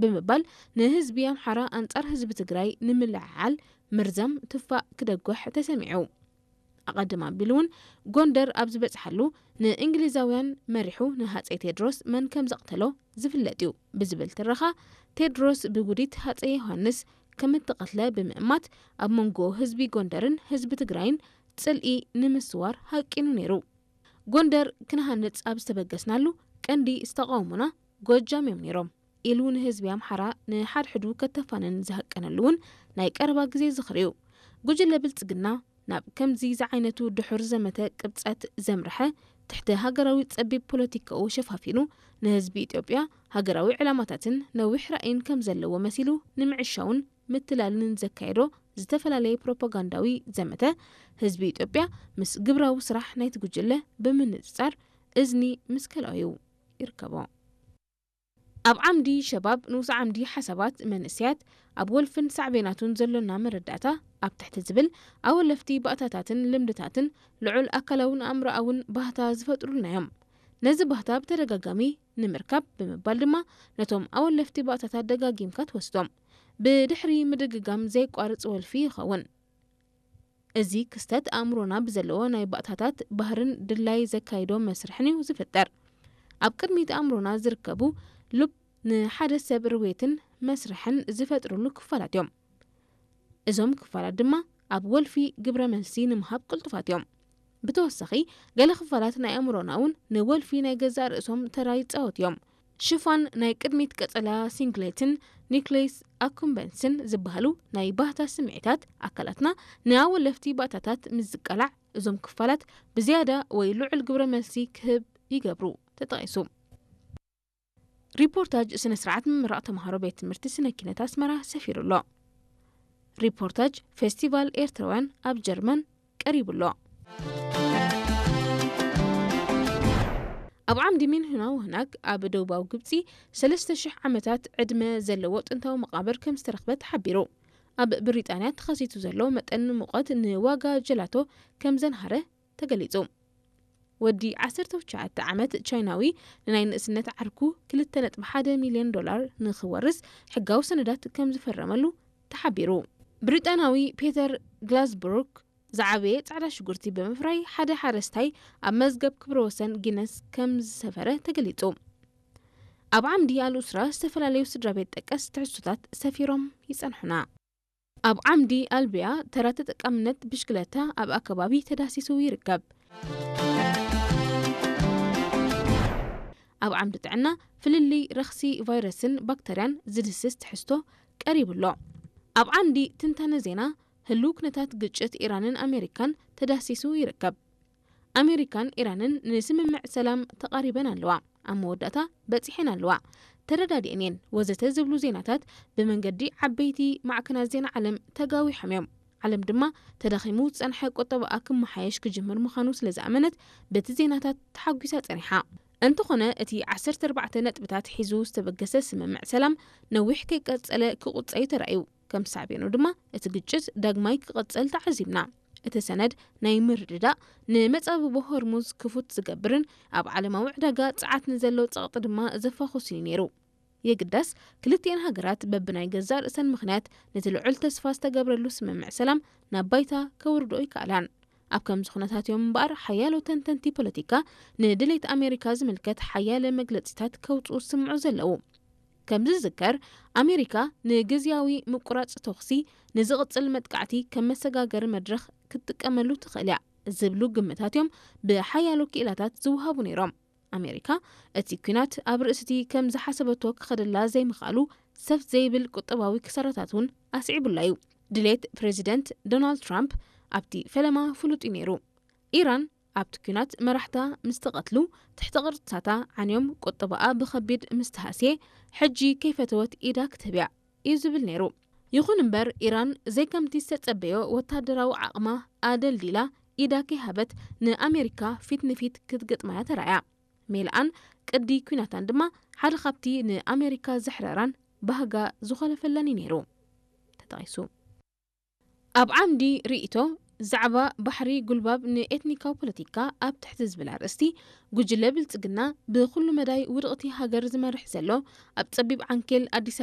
ብምባል፣ ንህዝቢ ኣምሓራ ኣንጻር ህዝቢ ትግራይ ንምልዕዓል ምርዛም ትፋእ ክደጉሕ ተሰሚዑ። ኣቐድም ኣቢሉ እውን፣ ጎንደር ኣብ ዝበጽሓሉ፣ ንእንግሊዛውያን መሪሑ ንሃጸይ ቴድሮስ መን ከም ዘቕተሎ ዝፍለጥ እዩ ብዝብል ትረኻ፣ ቴድሮስ ብውዲት ሃጸይ ዮሃንስ ከም እተቐትለ ብምእማት፣ ኣብ መንጎ ህዝቢ ጎንደርን ህዝቢ ትግራይን ጽልኢ ንምስዋር ሃቂኑ ነይሩ። ጎንደር ክንሃንጽ ኣብ ዝተበገስናሉ፣ ቀንዲ ዝተቃወሙና ጎጃም እዮም ነይሮም ኢሉ ንህዝቢ ኣምሓራ ንሓድሕዱ ከተፋንን ዝሃቀነሉ እውን ናይ ቀረባ ግዜ ዝኽሪ እዩ። ጉጅለ ብልጽግና ናብ ከምዚ ዝዓይነቱ ድሑር ዘመተ ቅብጸት ዘምርሐ፣ ትሕቲ ሃገራዊ ጸቢብ ፖለቲካኡ ሸፋፊኑ፣ ንህዝቢ ኢትዮጵያ ሃገራዊ ዕላማታትን ነዊሕ ራእይን ከም ዘለዎ መሲሉ ንምዕሻውን ምትላልን ዘካየዶ ዝተፈላለየ ፕሮፓጋንዳዊ ዘመተ፣ ህዝቢ ኢትዮጵያ ምስ ግብራዊ ስራሕ ናይቲ ጉጅለ ብምንጽጻር እዝኒ ምስ ከልኦ እዩ ይርከቦ። ኣብ ዓምዲ ሸባብ፣ ንኡስ ዓምዲ ሓሳባት መንእሰያት፣ ኣብ ወልፍን ሳዕቤናቱን ዘሎና መረዳእታ ኣብ ትሕቲ ዝብል ኣወለፍቲ ባእታታትን ልምድታትን ልዑል ኣካላውን ኣእምሮኣውን ባህታ ዝፈጥሩልና እዮም። ነዚ ባህታ ብተደጋጋሚ ንምርካብ ብምባል ድማ ነቶም ኣወለፍቲ ባእታታት ደጋጊምካ ትወስዶም። ብድሕሪ ምድግጋም ዘይቋርጽ ወልፊ ይኸውን። እዚ ክስተት ኣእምሮና ብዘለዎ ናይ ባእታታት ባህርን ድላይ ዘካይዶ መስርሕን እዩ ዝፍጠር። ኣብ ቅድሚት ኣእምሮና ዝርከቡ ሉብ ንሓደ ሰብ ርዌትን መስርሕን ዝፈጥርሉ ክፋላት እዮም። እዞም ክፋላት ድማ ኣብ ወልፊ ግብረ መልሲ ንምሃብ ቅልጡፋት እዮም። ብተወሳኺ፣ ገለ ክፋላት ናይ ኣእምሮና እውን ንወልፊ ናይ ገዛእ ርእሶም ተራ ይጻወቱ እዮም። ሽፋን ናይ ቅድሚት ቀጸላ ሲንግሌትን ኒክሌስ ኣኩምበንስን ዝበሃሉ ናይ ባህታ ስምዒታት ኣካላትና ንኣወለፍቲ ባእታታት ምስ ዝቀላዕ፣ እዞም ክፋላት ብዝያዳ ወይ ልዑል ግብረ መልሲ ክህብ ይገብሩ። ተጠቒሱ። ሪፖርታጅ ስነ ስርዓት ምምራቕ ተምሃሮ ቤት ትምህርቲ ስነ ኪነት ኣስመራ ሰፊሩ ኣሎ። ሪፖርታጅ ፌስቲቫል ኤርትራውያን ኣብ ጀርመን ቀሪቡ ኣሎ። ኣብ ዓምዲ ሚንሁና ወህናግ ኣብ ደቡባዊ ግብጺ ሰለስተ ሽሕ ዓመታት ዕድመ ዘለዎ ጥንታዊ መቓብር ከም ዝተረኽበ ተሓቢሩ። ኣብ ብሪጣንያ ተኸሲቱ ዘሎ መጠን ሙቐት ንዋጋ ጀላቶ ከም ዘንሃረ ተገሊጹ። ወዲ ዓሰርተ ትሽዓተ ዓመት ቻይናዊ ንናይ ንእስነት ዓርኩ ክልተ ነጥቢ ሓደ ሚልዮን ዶላር ንኽወርስ ሕጋዊ ሰነዳት ከም ዝፈረመሉ ተሓቢሩ። ብሪጣናዊ ፔተር ግላዝብሩክ ዝዓበየ ጻዕዳ ሽጉርቲ ብምፍራይ ሓደ ሓረስታይ ኣብ መዝገብ ክብረ ወሰን ጊነስ ከም ዝሰፈረ ተገሊጹ። ኣብ ዓምዲ ኣልኡስራ ዝተፈላለዩ ስድራ ቤት ጠቀስ ትሕዝቶታት ሰፊሮም ይጸንሑና። ኣብ ዓምዲ ኣልቢያ ተራ ተጠቃምነት ብሽክለታ ኣብ ኣከባቢ ተዳሲሱ ይርከብ። ኣብ ዓምዲ ጥዕና ፍልልይ ረኽሲ ቫይረስን ባክተርያን ዝድስስ ትሕዝቶ ቀሪቡ ኣሎ። ኣብ ዓምዲ ትንታነ ዜና ህሉው ኩነታት ግጭት ኢራንን ኣሜሪካን ተዳሲሱ ይርከብ። ኣሜሪካን ኢራንን ንስምምዕ ሰላም ተቓሪበን ኣለዋ፣ ኣብ መወዳእታ በጺሐን ኣለዋ፣ ተረዳዲአን እየን ወዘተ ዝብሉ ዜናታት ብመንገዲ ዓበይቲ ማዕከናት ዜና ዓለም ተጋዊሖም እዮም። ዓለም ድማ ተዳኺሙ ዝጸንሐ ቁጠባኣ ክመሓየሽ ክጅምር ምዃኑ ስለ ዝኣመነት በቲ ዜናታት ተሓጒሳ ጸኒሓ። እንተኾነ እቲ ዓሰርተ ኣርባዕተ ነጥብታት ሒዙ ዝተበገሰ ስምምዕ ሰላም ነዊሕ ከይቀጸለ ክቑጸ እዩ ተራእዩ። ከም ሳዕቤኑ ድማ እቲ ግጭት ዳግማይ ክቐጸል ተዓዚብና። እቲ ሰነድ ናይ ምርድዳእ ንመጻብቦ ሆርሙዝ ክፉት ዝገብርን ኣብ ዓለማዊ ዕዳጋ ጸዓት ንዘሎ ጸቕጢ ድማ ዘፋኹስን እዩ ነይሩ። የግዳስ ክልቲኤን ሃገራት በብናይ ገዛእ ርእሰን ምኽንያት ነቲ ልዑል ተስፋ ዝተገብረሉ ስምምዕ ሰላም ናብ ባይታ ከውርድኦ ይከኣላን። ኣብ ከምዚ ኩነታት እዮም እምበኣር ሓያሎ ተንተንቲ ፖለቲካ ንድሌት ኣሜሪካ ዝምልከት ሓያለ መግለጺታት ከውጽኡ ዝስምዑ ዘለዉ። ከም ዝዝከር፣ ኣሜሪካ ንግዝያዊ ምቁራጽ ተኹሲ ንዝቕጽል መጥቃዕቲ ከም መሰጋገሪ መድረኽ ክትጥቀመሉ ትኽእል እያ ዝብሉ ግምታት እዮም ብሓያሎ ክኢላታት ዝወሃቡ ነይሮም። ኣሜሪካ እቲ ኲናት ኣብ ርእስቲ ከም ዝሓሰበቶ ክኸደላ ዘይምኽኣሉ ሰፍ ዘይብል ቁጠባዊ ክሳራታት እውን ኣስዒቡላ እዩ። ድሌት ፕሬዚደንት ዶናልድ ትራምፕ ኣብቲ ፈለማ ፍሉጥ እዩ ነይሩ። ኢራን ኣብቲ ኲናት መራሕታ ምስ ተቐትሉ፣ ትሕተ ቅርጽታታ ዓንዮም ቁጠባኣ ብኸቢድ ምስ ተሃስየ፣ ሕጂ ከይፈተወት ኢዳ ክትህብ እያ እዩ ዝብል ነይሩ። ይኹን እምበር፣ ኢራን ዘይከምቲ ዝተጸበዮ ወታደራዊ ዓቕማ ኣደልዲላ ኢዳ ከይሃበት ንኣሜሪካ ፊት ንፊት ክትገጥማ እያ ተራእያ። ሜልኣን ቅዲ ኲናታን ድማ ሓደ ካብቲ ንኣሜሪካ ዘሕረራን ባህጋ ዝኾለፈላን እዩ ነይሩ ተጠቒሱ። ኣብ ዓምዲ ርእይቶ፣ ዛዕባ ባሕሪ ጉልባብ ንኤትኒካዊ ፖለቲካ ኣብ ትሕቲ ዝብል ኣርእስቲ፣ ጉጅለ ብልጽግና ብኹሉ መዳይ ውድቕቲ ሃገር ዝመርሕ ዘሎ፣ ኣብ ጸቢብ ዓንኬል ኣዲስ